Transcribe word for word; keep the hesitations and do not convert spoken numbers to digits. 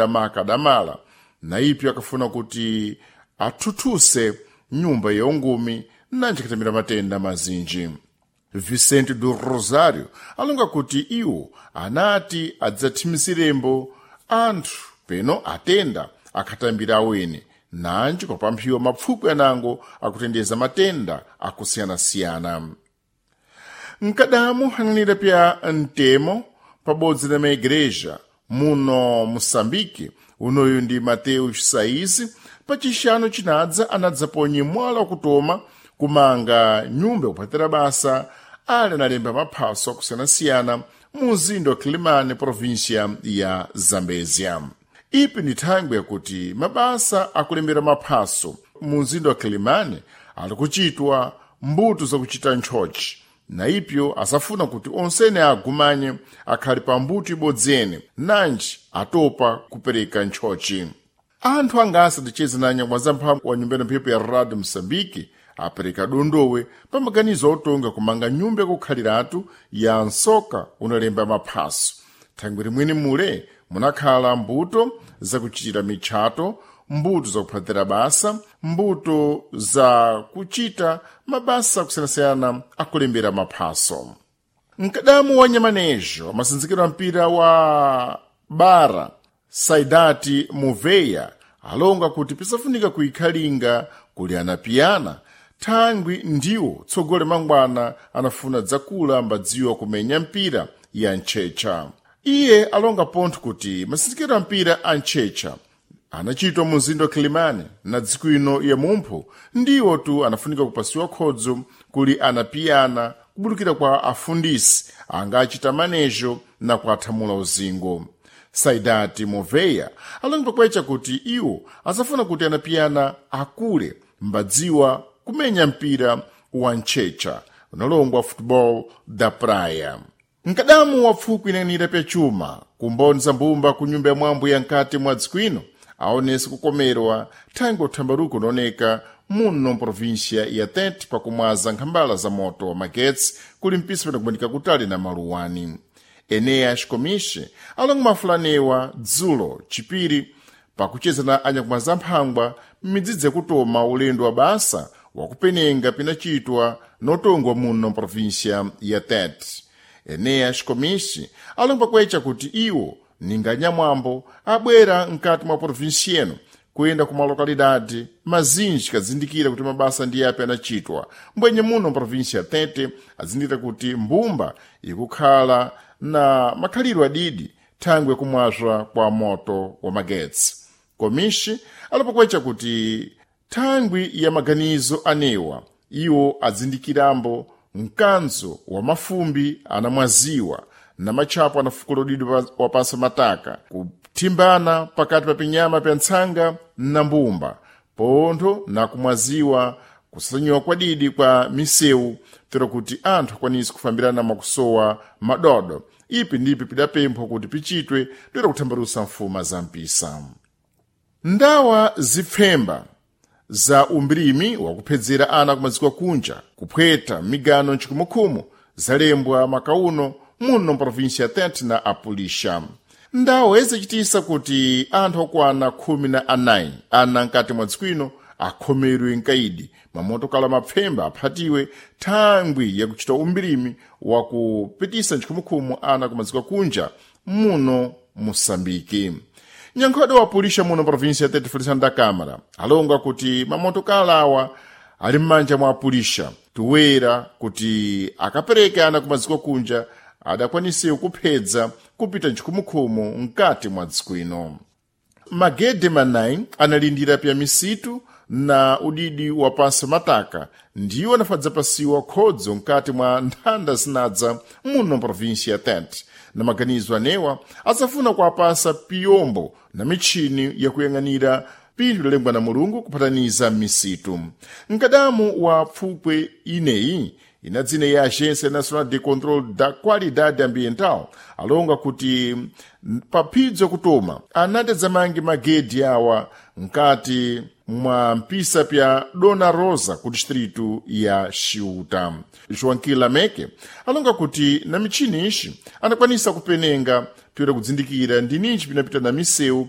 Maka Damala na ipyo akafuna kuti athuthuse nyumba yaungumi nanji katamira matenda mazinji. Vicente do Rosário alonga kuti iwo anati adzathimizirembo anthu peno atenda akhatambira awene nanji kwapamphiwa mapfukwi anango akutendeza matenda akusiyana-siyana. Mkadamu hananira pya mtemo pabodzi na maigreja muno Moçambique, unoyu ndi Mateus Saizi, pachixano chinadza anadzaponye mwala wakutoma kumanga nyumba yakuphatira basa ali analemba maphaso akusiyana-siyana mu mzinda wa Quelimane, província ya Zambezia. Ipi ni thangwi yakuti mabasa akulembera maphaso mu mzinda wa Quelimane ali kuchitwa mbuto zakuchita ntchotchi, na ipyo asafuna kuti onsene agumanye akhali pa mbuto ibodzi ene nanji atopa kupereka ntchotchi. Anthu angasa ticheze na nyamwazamphamvu wa nyumba mphepo ya Radio Moçambique apereka dondowe pa maganizo otonga kumanga nyumba yakukhaliratu ya nsoka unalemba maphaso. Thangwi limweni mule munakhala mbuto zakuchitira mitchato, mbuto zakuphatira basa, mbuto zakuchita mabasa akusiyanasiyana akulembera maphaso. Mkadamu wa nyamanejo amasinzikiro a mpira wa bara Saidati Muveya alonga kuti pisafunika kuikhalinga kuli anapiyana thangwi ndiwo tsogole mangwana anafuna dzakula mbadziwa kumenya mpira ya ntchetcha. Iye alonga pontho kuti masinzikiro a mpira a ntchetcha anachitwa mu mzinda wa Quelimane na dziko ino ya mumpho ndiwo tu anafunika kupasiwa khodzo kuli anapiyana kubulukira kwa afundisi angachita manejo na kuathamula uzingo. Saidati Moveya alonga pakwecha kuti iwo asafuna kuti anapiyana akule mbadziwa kumenya mpira wa ntchetcha unalongwa Futebol da Praia. Mkadamu wa pfukwi inanira pyachuma kumbonza mbumba ku nyumba ya mwambo ya nkati mwa dziko ino aonese kukomerwa thangwi uthambaruko unaoneka muno mprovíncia ya Tete pakumwaza nkhambala za moto wa magetsi kuli mpisa panakubanika kutali na maluwani. Eneas Comiche alonga mafulanewa dzulo chipiri pakucheza na anyakumwaza mphangwa m'midzidzi yakutoma ulendo wa basa wakupenenga pinachitwa notongwa muno mprovíncia ya Tete. Eneas Comiche alonga kwecha kuti iwo ninga nyamwambo abwera mkati mwa província eno kuyenda ku malokalidade mazinji kazindikira kuti mabasa ndi api anachitwa mbwenye muno mprovíncia ya Tete azindikira kuti mbumba ikukhala na makhalidwe adidi thangwi yakumwazwa kwa moto wa magetsi. Komishi alipokwecha kuti thangwi ya maganizo anewa iwo azindikirambo mkanzo wa mafumbi anamwaziwa na matchapo anafukula udidi wapansi mataka kuthimbana pakati pa pinyama pya ntsanga na mbumba pontho na kumwaziwa kusanyiwa kwadidi kwa misewu tero kuti anthu akwanise kufambirana mwakusowa madodo. Ipi ndipi pidapemphwa kuti pichitwe toera kuthambalusa mfuma za mpisa. Ndawa zipfemba za umbirimi wakuphedzera ana kumaziko akunja kuphweta migano nchikhumukhumu zalembwa makauno muno mprovíncia ya Tete na apulisha. Ndawo izichitisa kuti anthu okwana khumi na anayi ana mkati mwa dziko ino akhomerwe mkaidi mamotokala mapfemba aphatiwe thangwi yakuchita umbirimi wakupitisa nchikhumukhumu ana kumaziko akunja muno Moçambique. Nyankhodo wa pulisha muno província ya Tete Feliciano da Câmara alonga kuti mamotokala awa ali m'manja mwa apulisha tuwera kuti akapereka ana kumaziko kunja adakwanise kuphedza kupita nchikhumukhumu mkati mwa dziko ino. Magede manayi analindira pya misitu na udidi wa pansi mataka ndiwo anafadzapasiwa khodzo mkati mwa nthanda zinadza muno mprovíncia ya Tete na maganizo anewa adzafuna kuapasa piyombo na mitchini yakuyang'anira pinthu lalembwa na Mulungu kuphataniza misitu. Mkadamu wa pfupwe ineyi ina dzina ya Agência Nacional de Controle da Qualidade Ambiental alonga kuti paphidzo kutoma anati adzamange magedi awa mkati mwa mpisa pya Dona Rosa ku distritu ya Xiuta. Joaquim Lameke alonga kuti na mitchini ixi anakwanisa kupenenga toera kudzindikira ndi ninji pinapita na misewu